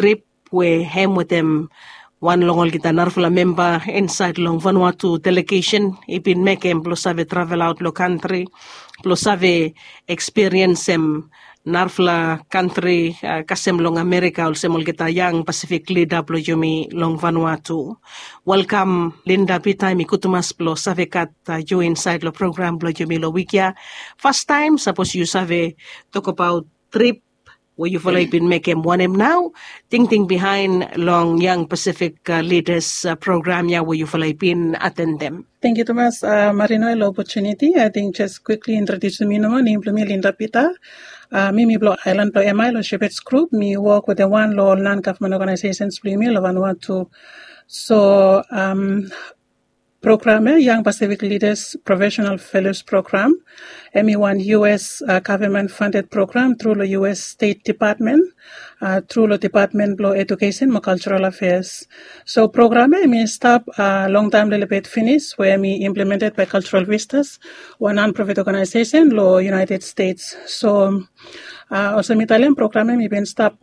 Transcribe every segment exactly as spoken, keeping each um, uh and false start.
trip we hem wetem wan long olgeta narafala memba insaed long Vanuatu delegesen i bin mekem blong save travelaot long kantri blong save ekspiriensem narafala kantri kasem long Amerika olsem olgeta yang Pasifik lida blong yumi long Vanuatu. Welkam Linda Pita, mi gud tumas blong save gat yu insaed long program blong yumi long wik ya. Fastaem sapos yu save tokbaot trip we yufala i bin mekem, wanem nao tingting bihaen long yang Pasifik lidas program ya we yufala i bin atendem? Tangkiu tumas, Marino, long opotuniti. Ating jes kwikli introdiusim mi nomo. Nem blong mi Linda Pita. Mi mi blong aelan blong Emai long Shepherds Group. Mi wok wetem wan long ol non-gavman ogenaesesens blong yumi long Vanuatu. So program ya, Young Pacific Leaders Professional Fellows Program, hem i wan U S gavman fanded program tru long U S Stet Depatmen, tru long Depatmen blong Ejukesen mo Kaljeral Afeas. So program ya hem i stap longtaem lelebet finis we hem i implemented bae Kaljeral Vistas, wan non-profit ogenaesesen long United States. So olsem mi talem, program ya hem i bin stap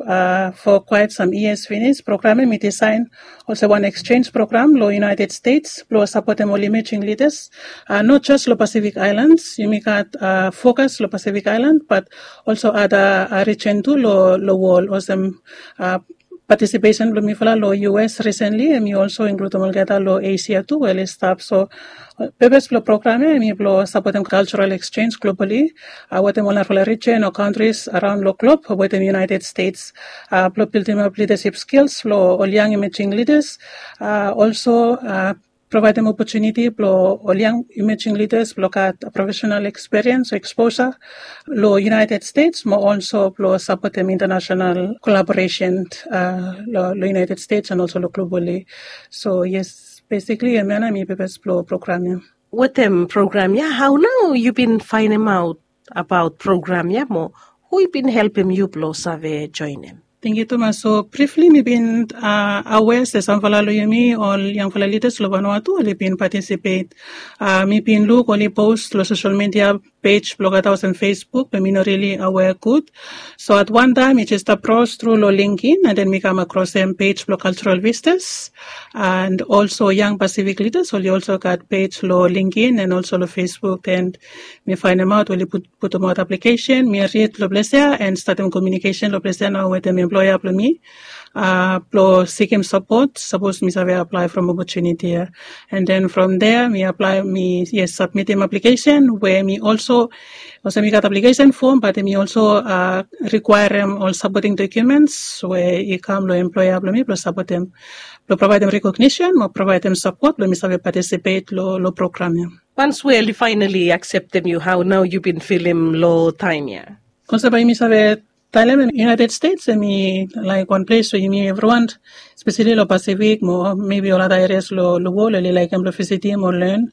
for quite some years finis. Program ya hem i disaen olsem wan exchange program long United States blong sapotem ol emerging leaders, not jes long Pacific Islands. Yumi gat focus long Pacific Island, but also ada region tu long wol. Olsem participation blong mifala long U S recently, hem i also includem olgeta long Asia tu we oli stap. So purpose blong program ya hem i blong sapotem cultural exchange globally wetem ol narafala region o countries around long globe wetem United States blong buildimap leadership skills blong ol young emerging leaders. Also provaedem opotuniti blong ol young emerging leaders blong gat professional experience o exposure long United States mo also blong sapotem international collaboration long United States and also long globally. So yes, basically hemia nao hem i purpose blong program ya. Wetem program ya, hao nao yu bin faenemaot abaot program ya mo hu i bin helpem yu blong save joenem? Tangkiu tumas. So brifli mi bin aware se samfala long yumi ol yangfala lidas long Vanuatu oli bin patisipet. Mi bin luk oli post long sosel midia pej blong olgeta olsem Facebook, be mi no rili aware gud. So at wan taem mi jes stap braos tru long LinkedIn and then mi kam akrosem pej blong Cultural Vistas and also Young Pacific Leaders oli also gat pej long LinkedIn and also long Facebook, and mi faenemaot oli putumaot aplikesen. Mi rid long ples ya and statem komiunikesen long ples ya nao wetem employer blong mi blong sikim sapot sapos mi save aplae from opotuniti ya. And then from there mi aplae, mi, yes, sabmitim aplikesen we mi also, olsem mi gat aplikesen fom, bat mi also rikwaerem ol sapoting dokiumens we i kam long employer blong mi blong sapotem, blong provaedem rekognisen mo provaedem sapot blong mi save patisipet long program ya. Once we oli faenali akseptem yu, hao nao yu bin filim long taem ya? Olsem bae yumi save talem, United States hem i laek wan ples we yumi evriwan, espeseli long Pasifik mo maybe ol ada erias long wol, oli laekem blong visitim o len.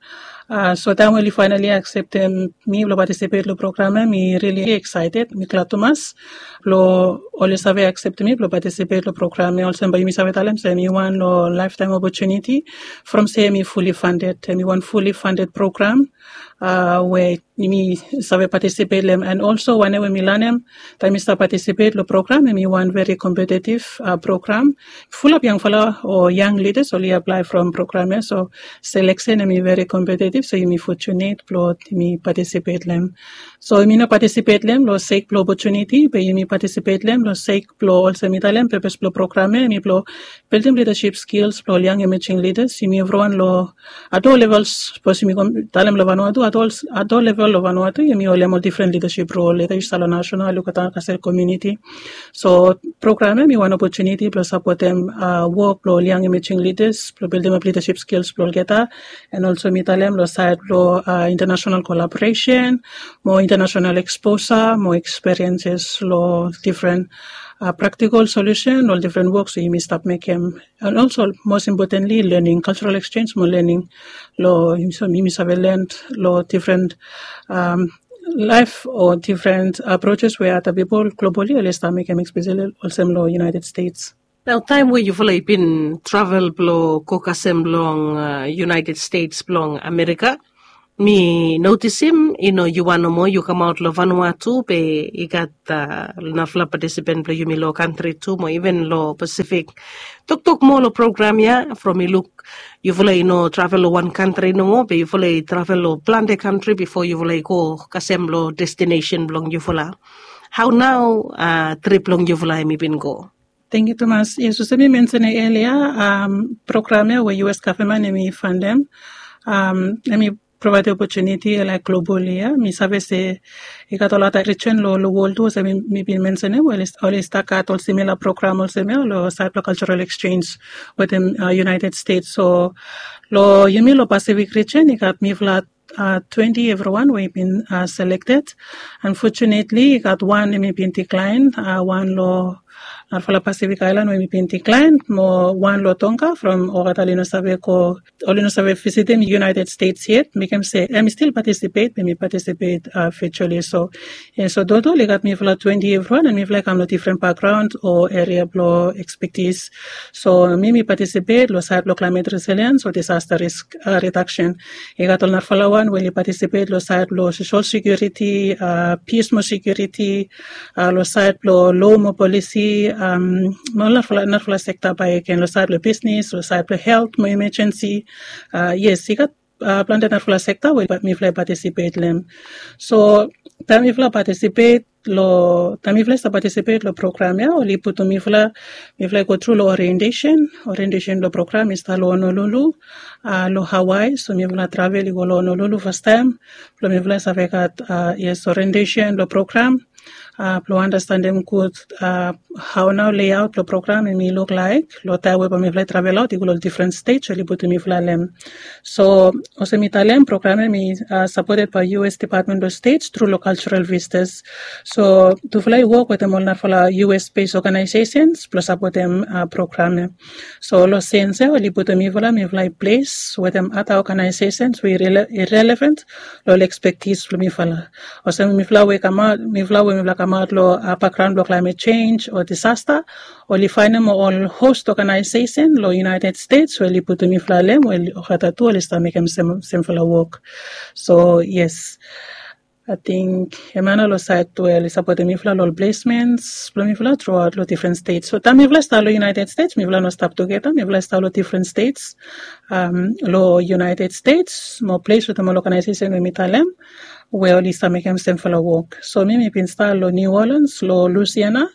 So taem we oli faenali akseptem mi blong patisipet long program ya, mi rili eksaeted, mi glad tumas blong oli save akseptem mi blong patisipet long program ya. Olsem bae yumi save talem se hem i wan long laeftaem opotuniti from se hem i fully funded, hem i wan fully funded program we yumi save patisipet long hem. And also wanem we mi lanem taem mi stap patisipet long program, hem i wan very competitive program. Fulap yangfala o young leaders oli aplae from program ya. So seleksen hem i very competitive, so yumi fortunate blong yumi patisipet long hem. So yumi no patisipet long hem long sek blong opotuniti, be yumi patisipet long hem long sek blong, olsem mi talem, purpose blong program ya hem i blong bildim leadership skills blong ol young emerging leaders. Yumi evriwan long ato levels, sapos yumi talem long Vanuatu, ato level long Vanuatu yumi holem ol difren leadership role, weda yu stap long national, yu go kasem komuniti. So program ya hem i wan opotuniti blong sapotem wok blong ol young emerging leaders blong bildimap leadership skills blong olgeta, and also mi talem long saed blong international collaboration mo international exposure mo experiences long difren practical solution, ol difren woks we yumi stap mekem. And also most importantly learning, cultural exchange mo learning long, so yumi save len long difren laef o difren approaches we ada pipol globally oli stap mekem, espeseli olsem long United States. Nao taem we yufala i bin travel blong go kasem long United States blong Amerika, Mi notisim i no yu wan nomo, yu kamaot long Vanuatu be i gat narafala patisipant blong yumi long kantri tu mo even long Pasifik. Toktok moa long program ya from i luk yufala i no travel long wan kantri nomo be yufala i travel long plante kantri bifo yufala i go kasem long destinesen blong yufala. Hau nau trip blong yufala em i bin go? Tengiu tumas. Yes, olsem mi mensenem elia, program ya we U S gavman em i fandem, em i provaedem opotuniti laik globali ya. Mi save se i gat olgeta rijen long wol tu olsem mi bin mensenem we oli stap gat ol simila program olsem ya long sait blong cultural exchange wetem United States. So long yumi long Pasifik rijen i gat mifala twenti evriwan we i bin selekted. Unfortunately i gat wan em i bin diklaen, wan long narafala Pasifik aelan we em i bin diklaen, mo wan long Tonga from olgeta oli no save go, oli no save visitim United States yet, mekem se em i stil patisipet be mi patisipet virtuali. So yes, so total i gat mifala twenti evriwan and mifala i kam long difren bakgraon o eria blong ekspetis. So mi mi patisipet long sait blong klaimet resiliens o disasta risk redaksen. I gat ol narafala wan we oli patisipet long sait blong sosol sekiuriti, pis mo sekiuriti, long sait blong lo mo polisi, mo narafala sekta bae gen long sait blong bisnis, long sait blong helt mo imejensi. Yes, i gat plante narafala sekta we mifala i patisipet long em. So taem mifala patisipet long taem mifala i stap patisipet long program ya oli putum mifala, mifala i go tru long orientesen. Orientesen blong program i stap long Honolulu, long Hawaii. So mifala travel i go long Honolulu fastaem blong mifala i save gat yes orientesen blong program, blong andastanem gud hau nau leiaot blong program em i luk laek long taem we bae mifala i travel aot i go long difren stet oli putum mifala long em. So olsem mi talem, program ya em i sapoted bae U S Department of State tru long cultural visitors. So tufala i wok wetem ol narafala U S based organizations blong sapotem program ya. So long sens ya oli putum mifala, mifala i ples wetem ada organizations we i relevant long ol ekspektis blong mifala. Olsem mifala we kamaot, mifala we mifala kamaot long bakgraon blong klaimet jenj o disasta, oli faenem ol host organization long United States we oli putum mifala long em we olgeta tu oli stap mekem semfala wok. So yes, ating em ya nao long sait we oli sapotem mifala long ol plesments blong mifala truaot long difren stet. So taem mifala i stap long United States mifala no stap tugeta, mifala i stap long difren stet long United States mo ples wetem ol organization we mi talem we oli stap mekem semfala wok. So mi mi bin stap long New Orleans long Louisiana.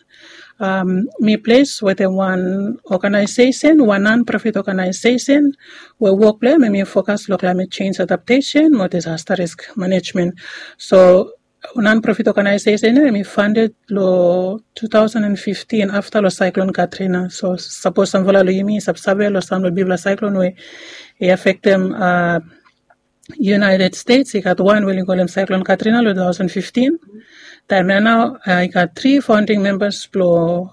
Mi ples wetem wan organization, wan non-profit organization we wok blong em em i fokas long klaimet jenj adaptesen mo disasta risk manejmen. So non-profit organization ya em i fanded long two thousand and fifteen afta long saiklon Katrina. So sapos samfala long yumi i save long sam long bigfala saiklon we i afektem United States, i gat wan we oli kolem saiklon Katrina long two thousand fifteen. Taem ya nao i gat tri faonding membas blong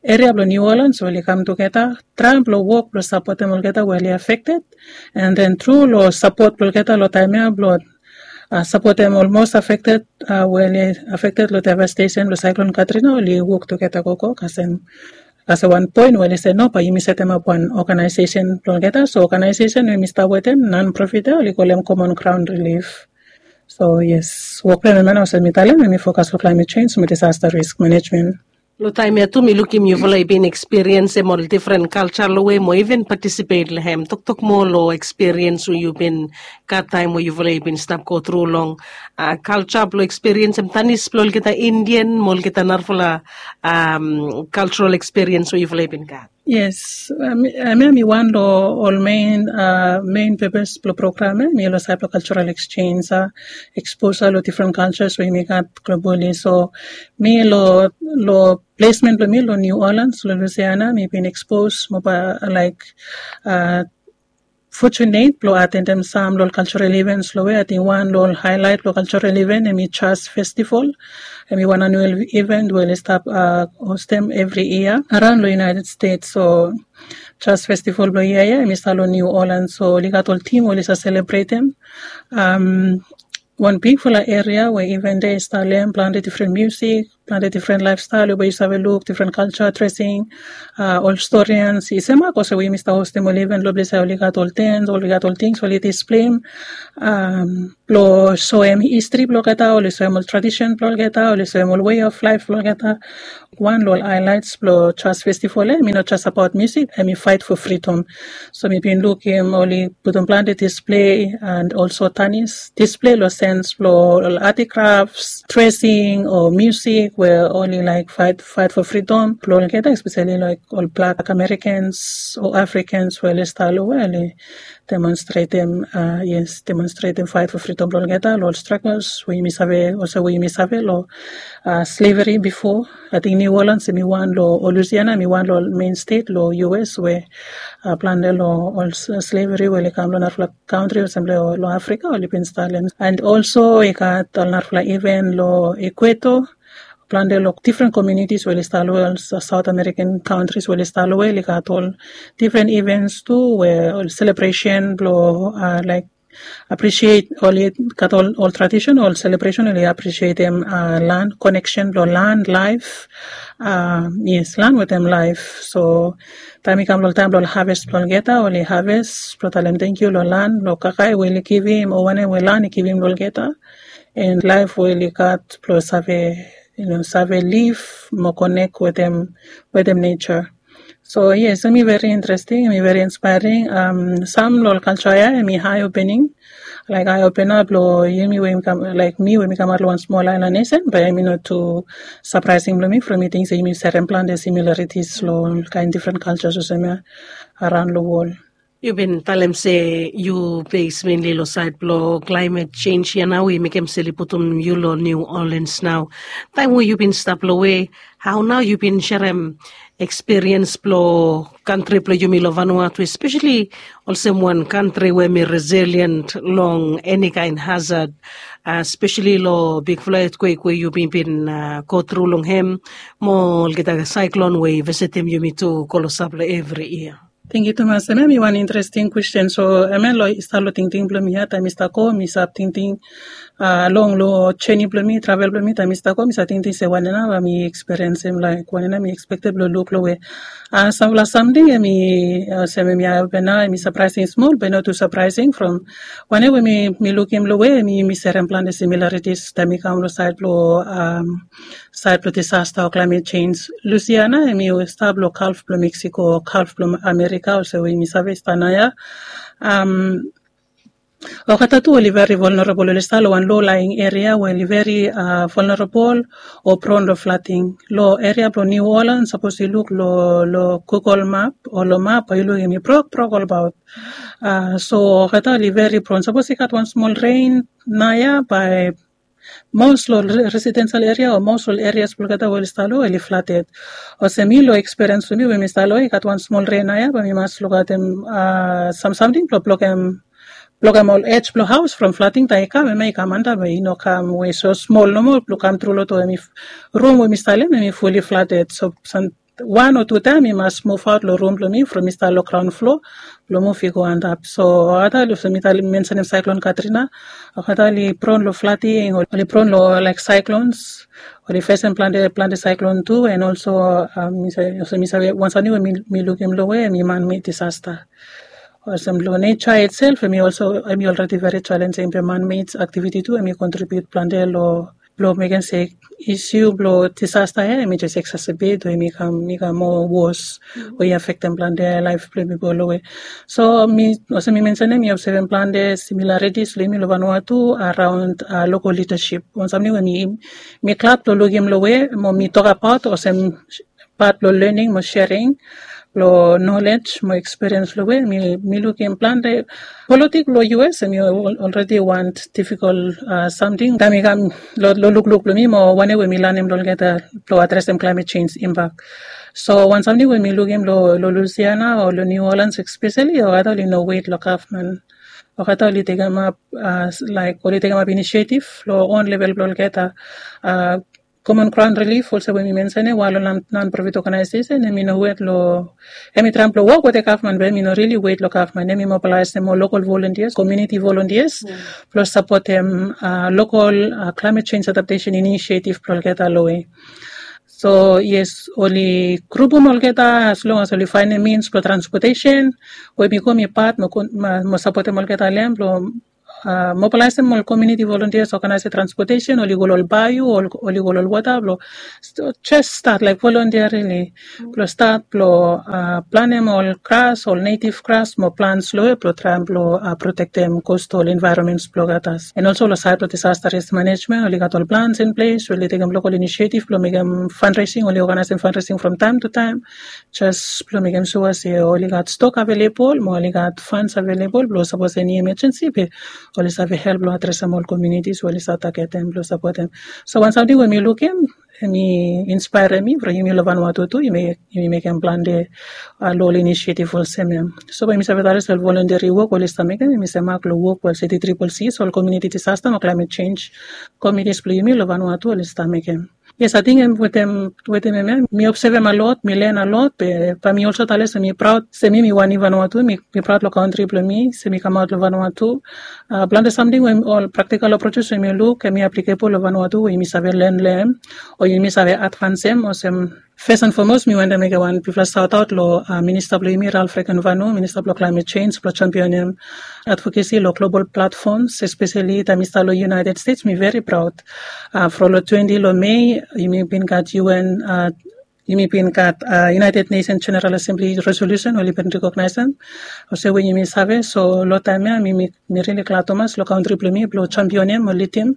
eria blong New Orleans we oli kam tugeta traem blong wok blong sapotem olgeta we oli afekted. And then tru long sapot blong olgeta long taem ya blong sapotem ol mos afekted we oli afekted long devastesen blong saiklon Katrina, oli wok tugeta gogo kasem kasem wan poen we oli se no, bae yumi setemap wan organization blong olgeta. So organization we mi stap wetem non-profit ya oli kolem Common Ground Relief. So yes, wok blong em ya nao olsem mi talem em i fokas long klaimet jenj mo disasta risk manejmen. Long taem ya tu mi lukim yufala i bin ekspiriensem ol difren kalja long we mo even patisipet long em. Toktok moa long ekspiriens we yu bin gat taem we yufala i bin stap go tru long kalja blong ekspiriensem tanis blong olgeta Indian mo olgeta narafala kaljaral ekspiriens we yufala i bin gat. Yes, em ya mi wan long ol mein mein pepes blong program ya mi long sait blong kaljaral eksenj, eksposa long difren kaljas we yumi gat globali. So mi long long plesmen blong mi long New Orleans long Louisiana mi bin ekspos mo bae laik fotunet blong atendem sam long ol kaljaral ivens long we ating wan long ol haelaet blong kaljaral iven em i Jazz Festival. Em i wan anual iven we oli stap hostem evri yia araon long United States. So Jazz Festival blong yia ya em i stap long New Orleans. So oli gat ol tim we oli save selebretem. Wan bigfala eria we iven de i stap long em, plante difren musik, plante difren laefstael we bae yu save luk, difren kalja, dresing, ol storians i semak olsem we yumi stap hostem ol iven long ples ya oli gat ol tens, oli gat ol tings oli displeim blong soem histri blong olgeta, oli soem ol tradisen blong olgeta, oli soem ol wei of laef blong olgeta. Wan long ol haelaets blong jas festival ya em i no jas abaot musik, em i faet fo fridom. So mi bin lukim oli putum plante displei and olso tanis displei long sens blong ol atikrafs, dresing o musik we oli laek faet faet fo fridom blong olgeta, espeseli laek ol blak amerikans o afrikans we oli stap long we oli demonstretem, yes, demonstretem faet fo fridom blong olgeta long ol stragels we yumi save olsem we yumi save long sleveri bifo. Ating niu olans em i wan long ol lusiana em i wan long ol mein stet long us we plante long ol sleveri we oli kam long narafala kantri olsem long afrika oli bin stalem. And olso i gat ol narafala iven long ekueto, plante long difren komunitis we oli stap long ol saot amerikan kantris we oli stap long we oli gat ol difren ivens tu we ol selebresen blong laek apresiet oli gat ol tradisen ol selebresen oli apresietem lan koneksen blong lan laef. Yes, lan wetem laef. So taem i kam long taem blong haves blong olgeta oli haves blong talem tangkiu long lan blong kakae we oli givim o wanem we lan i givim long olgeta, en laef we oli gat blong save save liv mo konek wetem wetem neja. So yes, em i veri interesting, em i veri inspairing. Sam long ol kalja ya em i hae opening, laek hae opena blong yumi we mi kam laek mi we mi kamaot long wan smol aelan nesen bae em i no tu sapraesing blong mi from mi ting se yumi serem plante similaritis long ol kaen difren kaljas olsem ya araon long wol. Yu bin talem se yu bes menli long saed blong klaimet sens ya nao i mekem sel i putum yu long niu olens nao. Taem we yu bin stap long we hao nao yu bin serem ekspiriens blong kantri blong yumi long vanua tu espeseli olsem wan kantri we mi resilient long eni kaen hazad, espeseli long bigfala etkwek we yumi bin go tru long hem mo olgeta saeklon we i visitim yumi tu go long sap long evri yia. Tengkiu tumas, em ya mi wan interesting kwesten. So em ya long i stap long tingting blong mi ya taem mi stap go mi stap tingting long long jeni blong mi travel blong mi taem mi stap go mi stap tingting se wanem nao bae mi ekspiriensim laek wanem nao mi ekspekted blong luk long we sampela samting em i olsem em i aeopena em i sapraesing smol be no tu sapraesing from wanem we mi lukim long we em i mi serem plante similaritis taem mi kam long saed blong saed blong disasta o klaimet sens. Lusiana em i stap long kalf blong meksiko o kalf blong amerika olsem we yumi save stap nao ya. Olgeta tu oli veri volnerabol oli stap long wan lo laing eria we oli veri volnerabol o pron long flating. Long eria blong niu olan sapos yu luk long gugol map o long map bae yu lukim i brokbrok olbaot. So olgeta oli veri pron sapos i gat wan smol ren nao ya bae mos long residensel eria o mos long erias blong olgeta we oli stap long oli flated. Olsem mi long ekspiriens blong mi we mi stap long i gat wan smol ren nao ya bae mi mas lukaotem samsamting blong blokem blokem ol ej blong haos from flating taem i kam em ya i kam antap em ya i no kam we so smol nomo blong kam tru long to em i rum we mi stap long em em i fuli flated so wan o tu taem mi mas muvaot long rum blong mi from mi stap long graon flo blong muv i go antap. So olgeta oli olsem mi mensenim saeklon katrina, olgeta oli pron long flating oli pron long laek saeklons, oli fesem plante plante saeklon tu and olso olsem mi save wan samting we mi lukim long we em i manmed disasta. Olsem long neja itself em i olso em i olredi veri jalenjing be manmed aktiviti tu em i kontribiut plante long blong mekem se isu blong disasta ya em i jes eksasabet o em i kam i kam moa wos o i afektem plante laef blong pipol long we. So mi olsem mi mensenim mi obsevem plante similaritis long yumi long vanua tu araon lokol lidasip wan samting we mi mi glad blong lukim long we mo mi tokabaot olsem pat blong lening mo sering blong nolej mo ekspiriens long we mi lukim plante politik long us em i olredi wan difikol samting taem i kam long lukluk blong mi mo wanem we mi lanim long olgeta blong adresem klaimet sens imbak. So wan samting we mi lukim long lusiana o long niu olans espeseli olgeta oli no wet long gavman. Olgeta oli tekemap laek oli tekemap inisiatif long on level blong olgeta. Common Ground Relief olsem we mi mensenem, wan long non-profit organization, em i no wet long, em i traem blong wok wetem gavman, be em i no rili wet long gavman. Em i mobilaisim ol lokal volunteers, community volunteers, blong sapotem lokal climate change adaptation initiative blong olgeta long we. So yes, oli grupum olgeta as long as oli faenem means blong transportation, we mi go mi pat mo sapotem olgeta long em blong mobilaisim ol community volunteers, organize transportation, oli go long ol bayou, oli go long ol wota blong just stat laik voluntarily blong stat blong planem ol gras, ol native gras mo plants long we blong traem blong protektem coastal environments blong gatas. And also long side blong disaster risk management, oli gat ol plans in place, oli tekem lokal initiative blong mekem fundraising, oli organizim fundraising from time to time, just blong mekem sua se oli gat stok avelebol mo oli gat funds avelebol blong sapos eni emergency be oli save help long adresem ol communities we oli save targetem blong sapotem. So wan samting we mi lukim, em i inspaerem mi from yumi long Vanuatu tu, yumi mekem plante long ol initiative olsem em. So we yumi save talem se ol voluntary wok we oli stap mekem, yumi save mak long wok we ol City Triple Cs, ol community disaster mo climate change committees blong yumi long Vanuatu oli stap mekem. Yes, ating em wetem em ya mi obsevem alot, mi len alot, be bae mi olso talem se mi praod se mi mi wan Vanuatu, mi praod long kantri blong mi se mi kamaot long Vanuatu. Plante samting we ol practical approaches we mi luk em i applicable long Vanuatu we yumi save len long em o yumi save advansem olsem. First and foremost, mi wantem mekem wan bigfala saotaot long minista blong yumi, Ralph Regenvanu, minista blong climate change, blong championem advocacy long global platforms, especially taem mi stap long United States. Mi veri praod from long twenty long Mei yumi bin gat U N, yumi bin gat United Nations General Assembly resolution we oli bin recognize em olsem we yumi save. So long taem ya mi mi rili glad tumas long kantri blong mi blong championem o lidim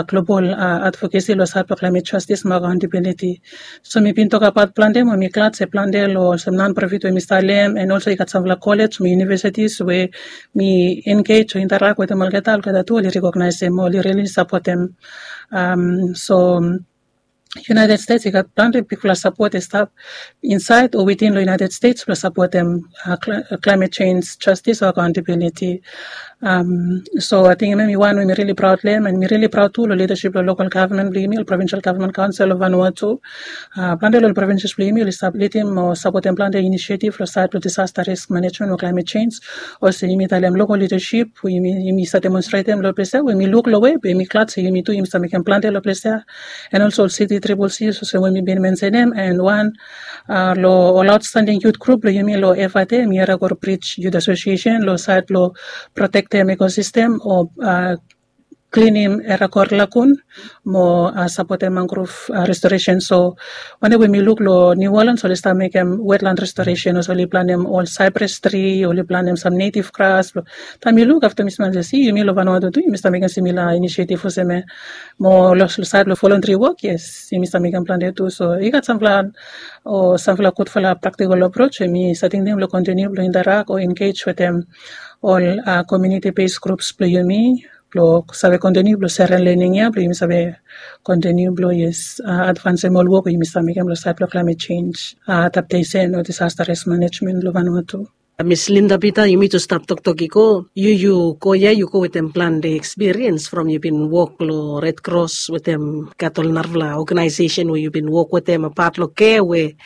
global advocacy long sait blong climate justice mo accountability. So mi bin tokbaot plante mo mi glad se plante long olsem non-profit we mi stap long em, and also i gat samfala college mo universities we mi engage o interact wetem olgeta, olgeta tu oli recognize em, oli rili sapotem. So United States i gat plante bigfala sapot i stap insait o witin long United States blong sapotem climate change justice o accountability. So ating em i wan we mi rili praod long em, and mi rili praod tu long leadership blong local government blong yumi, ol provincial government council of Vanuatu. Plante long ol provinces blong yumi oli stap lidim o sapotem plante initiative long sait blong disaster risk management o climate change. Olsem yumi talem local leadership we yumi save demonstratem long ples ya we mi luk long we be mi glad se yumi tu yumi save mekem plante long ples ya. And also ol City Triple Cs olsem we mi bin mensenem, and wan long ol outstanding youth group blong yumi long Efate, em i Eragor Bridge Youth Association, long sait blong protektem ecosystem o klinim Eragor lagoon mo sapotem mangrove restoration. So wanem we mi luk long New Orleans oli stap mekem wetland restoration, olsem oli planem ol cypress tree, oli planem sam native grass. Taem mi luk afta mi smel se si yumi long Vanuatu tu yumi stap mekem similar initiative olsem ya. Mo long sait blong voluntary work, yes, yumi stap mekem plante tu. So i gat samfala o samfala gudfala practical approach we mi save tingting blong continue blong interact o engage wetem ol community based groups blong yumi blong save continue blong serem learning ya blong yumi save continue blong, yes, advansem ol wok we yumi save mekem long sait blong climate change adaptation o disaster risk management long Vanuatu. Miss Linda Peter, yumi tu stap toktok i go, yu yu go ya yu go wetem plante experience from yu bin wok long Red Cross wetem gat ol narafala organization we yu bin wok wetem apat long kea we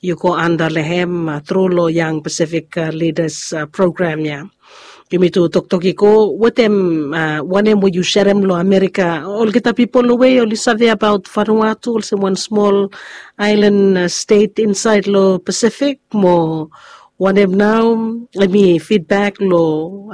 yu go anda long hem tru long Young Pacific Leaders program ya. Yumi tu toktok i go wetem wanem we yu serem long Amerika, olgeta pipol long we oli save abaot Vanuatu olsem wan smol aelan stet insait long Pacific, mo wanem nao em i feedback long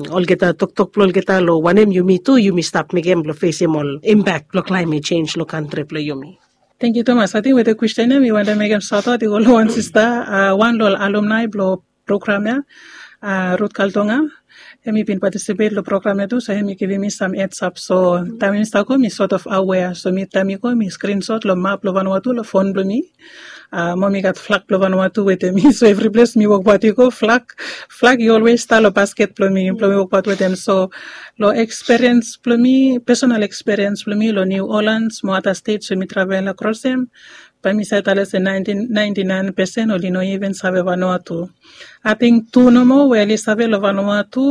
olgeta toktok blong olgeta long wanem yumi tu yumi stap mekem blong fesim ol impact blong climate change long kantri blong yumi. Tangkiu tumas. Ating wetem kwestin ya mi wantem mekem saotaot i go long wan sista, wan long ol alumni blong program ya, Ruth Kaltonga. Em i bin participate long program ya tu, so em i givim mi sam heads up. So taem mi stap go mi sort of aware, so mi taem mi go mi screenshot long map blong Vanuatu long fon blong mi. Mo mi gat flag blong Vanuatu wetem mi, so evri ples mi wokbaot i go flag, flag i always stap long basket blong mi blong mi wokbaot wetem. So long experience blong mi, personal experience blong mi long New Orleans mo other states we mi travel across em, Bae mi save talem se naentin naentin naen pesen oli no iven save Vanuatu. Ating tu nomo we oli save long Vanuatu.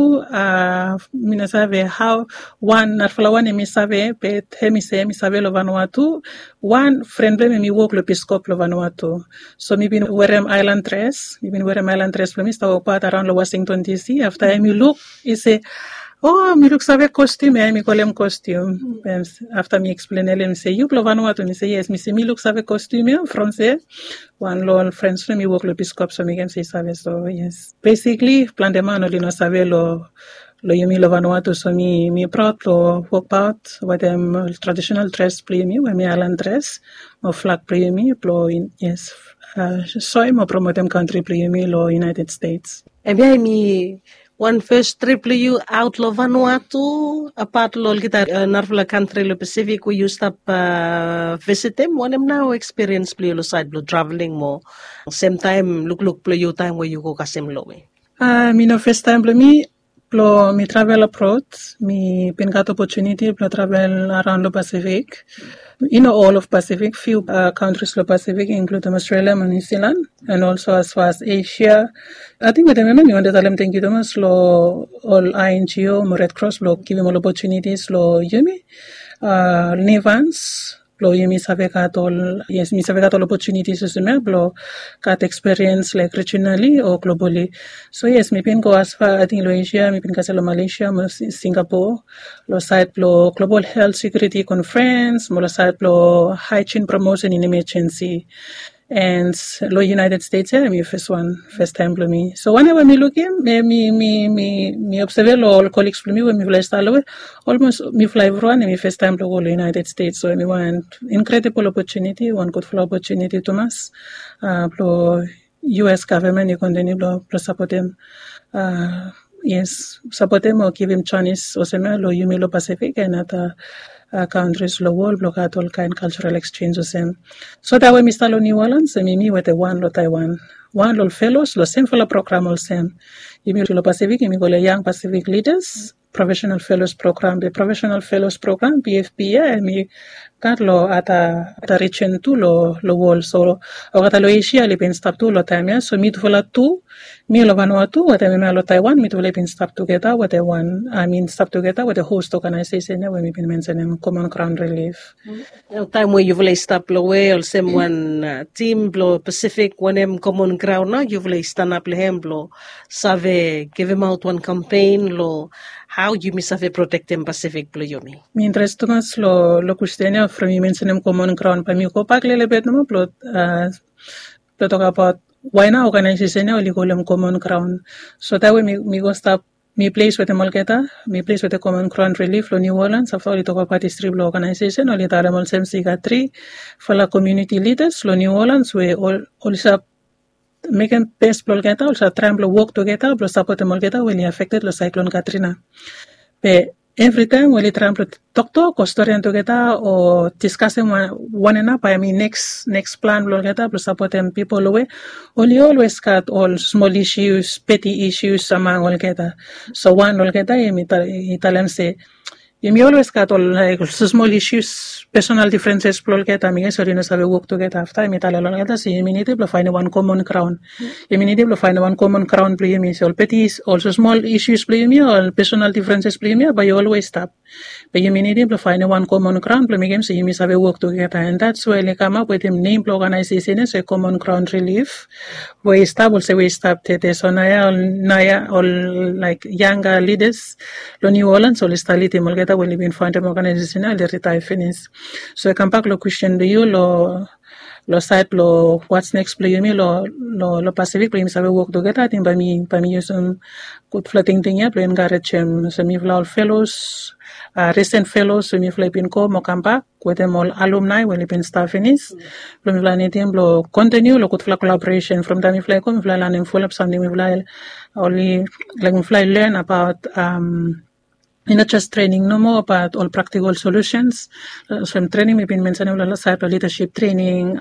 Mi no save hao wan narafala wan em i save, be em i se em i save long Vanuatu. Wan fren blong em em i wok long Piskop long Vanuatu. So mi bin werem aelan dres mi bin werem aelan dres blong mi stap wokbaot araon long Washington DC. Afta em i luk, i se, o, mi luksave kostium ya, em i kolem kostium. Afta mi eksplenem long em se, yu blong Vanuatu? Mi se yes. Mi se mi luksave kostium ya from se wan long ol frens blong mi wok long Piskop, so mi ken se i save. So yes, besikli plante man oli no save long long yumi long Vanuatu. So mi mi praod blong wokbaot wetem traditional dres blong yumi we mi aelan dres mo flag blong yumi blong yes, soem o promotem kantri blong yumi long United States. Em ya em i wan fes trip blong yu aot long Vanuatu, apat long olgeta narafala kantri long Pasifik we yu stap visitim? Wanem nao ekspiriens blong yu long sait blong traveling mo semtaem lukluk blong yu taem we yu go kasem lowe? Mi no festaem blong mi blong mi travel abrod. Mi bin gat opotuniti blong travel araon long Pasifik. I no ol of Pasifik, fiu kantris long Pasifik, inkludim Australia mo New Zealand, and also as far as Asia. Ating wetem em ya mi wantem talem tangkiu tumas long ol INGO mo Red Cross blong givim ol opotunitis long yumi Nivans blong yumi save gat ol, yes, mi save gat ol opotunitis olsem ya blong gat ekspiriens laik rijinali o globali. So yes, mi bin go asfa ating long Asia, mi bin kasem long Malaysia mo Singapore long sait blong global helt sekiuriti konfrens mo long sait blong haijin promosen in emejensi. And long United States ya em i fes wan, festaem blong mi. So wanem we mi lukim, mi mi mi mi obseve long ol koliks blong mi we mifala i stap long we olmos mifala evriwan em i festaem blong go long United States. So em i wan inkredibol opotuniti, wan gudfala opotuniti tumas blong US gavman i kontiniu blong sapotem, yes, sapotem o givim janis olsem ya long yumi long Pasifik and ata kantris long wol blong gat olkaen kaljaral eksenj olsem. So taem we mi stap long New Orleans em i mi wetem wan long Taiwan, wan long ol felos long semfala program olsem. Yumi long Pasifik yumi kolem Young Pacific Leaders Professional Fellows Program. Be Professional Fellows Program, PFP, ya em i gat long ata rijin tu long wol. So olgeta long Asia oli bin stap tu long taem ya. So mitufala tu, mi long Vanuatu wetem hemia long Taiwan, mitufala i bin stap tugeta wetem wan, I mean stap tugeta wetem host oganaesesen ya we mi bin mensenem Common Ground Relief. Taem we yufala i stap long we olsem wan tim blong Pasifik, wanem komon graon nao yufala i stanap long hem blong save givimaot wan kampen long hao yumi save protektem Pasifik blong yumi? Mi interes tumas long kwestin ya from yu mensenem komon graon, bae mi gobak lelebet nomo blong blong tokabaot wae nao oganaesesen ya oli kolem Common Ground. So taem we mi go stap, mi ples wetem olgeta, mi ples wetem Common Ground Relief long New Orleans. Afta oli tokbaot histri blong oganaesesen, oli talem olsem se i gat trifala komuniti lidas long New Orleans we oli save mekem bes blong olgeta, oli save traem blong wok tugeta blong sapotem olgeta we oli afekted long Saeklon Katrina. Be evritaem we oli traem blong toktok o storian tugeta o diskasem wan another bae hemi neks neks plan blong olgeta blong sapotem pipol we oli olwes gat ol smol isius, peti isius among olgeta. So wan long olgeta hemi talem se yumi olwes gat ol laik smol isius, pesonal difrenses blong olgeta, mi ges oli no save wok tugeta. Afta hemi talem long olgeta se yumi nidim blong faenem wan komon graon. Yumi nidim blong faenem wan komon graon blong yumi, se ol peti, ol smol isius blong yumi, ol pesonal difrenses blong yumi ya bae i olwes stap. Be yumi nidim blong faenem wan komon graon blong mekem se yumi save wok tugeta. And that's why oli kamap wetem nem blong oganaesesen ya se Common Ground Relief, we i stap olsem we i stap tede. So naoia ol, naoia ol laik yanga lidas long New Orleans oli stap lidim olgeta we oli bin faondem oganaesesen ya oli ritaea finis. So i kambak long kwestin blong yu long long saed blong what's next blong yumi long Pasifik blong yumi save wok tugeta. Ating bae mi bae mi yusum gudfala tingting ya blong enkarejem olsem mifala ol felos, risen felos we mifala i bin go mo kambak wetem ol alumni we oli bin stap finis, blong mifala nidim blong kontiniu long gudfala kolaboresen. From taem mifala i go mifala i lanem fulap samting mifala oli laik mifala i len abaot i no jes trening nomo, bat ol praktikol solusens. Olsem trening mi bin mensenim long sait blong lidaship trening,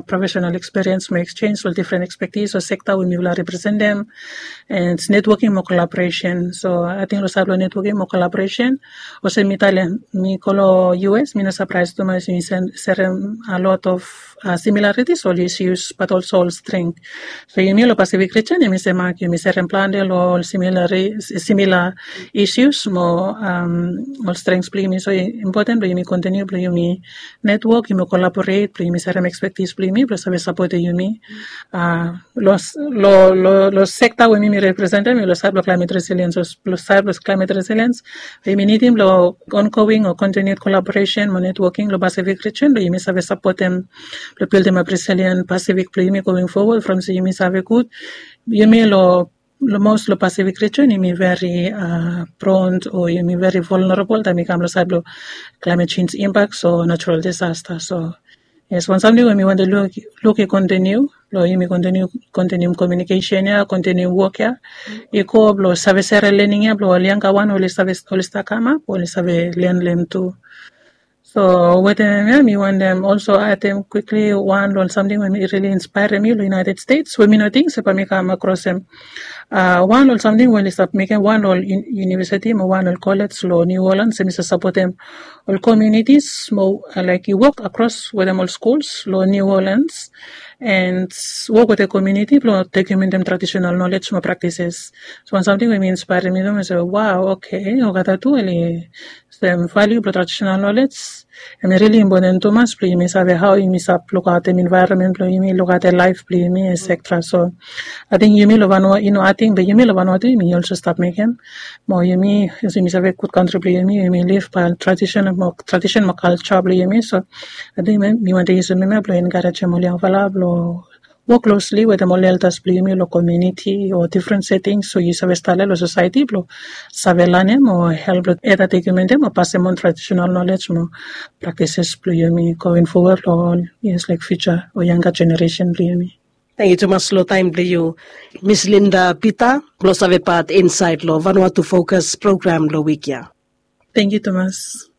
profesenal ekspiriens mo eksenj ol difren ekspetis o sekta we mifala representem, and netwoking mo kolaboresen. So ating long sait blong netwoking mo kolaboresen, olsem mi talem, mi go long U S, mi no sapraes tumas mi serem a lot of similaritis ol isius, bat olso ol streng. So yumi long Pasifik rijen yumi semak yumi serem plante long ol simila isius mo ol strengs blong yumi. So impoten blong yumi kontiniu blong yumi netwok, yumi kolaboret blong yumi serem ekspetis blong yumi blong save sapotem yumi. Long sekta we mi mi representem, long sait blong klaimet resiliens, long sait blong klaimet resiliens, we yumi nidim long ongoing o kontiniu kolaboresen mo netwoking long Pasifik rijen blong yumi save sapotem blong bildim ap resilien Pasifik blong yumi going fowod, from se yumi save gud yumi long mos long Pasifik rijen yumi veri pront o yumi veri volnerabol taem i kam long sait blong klaimet jenj impaks o natural disasta. So yes, wan samting we mi wantem luk i kontiniu blong yumi kontiniu, kontiniu komiunikesen ya, kontiniu wok ya, i go blong save sere lening ya blong ol yanga wan oli save, oli stap kamap oli save len long hem tu. So wetem hem ya mi wantem olso atem kwikli wan long ol samting we mi rili inspaerem mi long United States we mi no ting se bae mi kam akrosem. Wan long ol samting we oli stap mekem wan long ol univesiti mo wan long ol kolej long New Orleans, em i save sapotem ol komunitis mo laik i wok akros wetem ol skuls long New Orleans, and wok wetem komuniti blong dokumentem tradisenal nolej mo praktises. So wan samting we mi inspaerem mi tu mi se, wow, oke, olgeta tu oli sem valiu blong tradisenal nolej. Em i rili impoten tumas blong yumi save hao yumi save lukaotem envaeronmen blong yumi, lukaotem laef blong yumi, etsetera. So ating yumi long vanua i no ating be yumi long vanua tu yumi olso stap mekem mo yumi, yumi save gud kantri blong yumi, yumi liv bae tradisen mo kalja blong yumi. So ating mi wantem yusum hemia blong enkarejem ol yangfala blong wok klosli wetem ol eldas blong yumi long komuniti o difren setings we yu save stap long sosaeti blong save lanem o help long eda dokumentem o pasem on tradisenal nolej mo praktises blong yumi going fowod long ol yes laik fiuja o yanga jeneresen blong yumi. Tangkiu tumas long taem blong yu, Miss Linda Peter, blong save pat insaed long Vanuatu Fokas program long wik ya. Tangkiu tumas.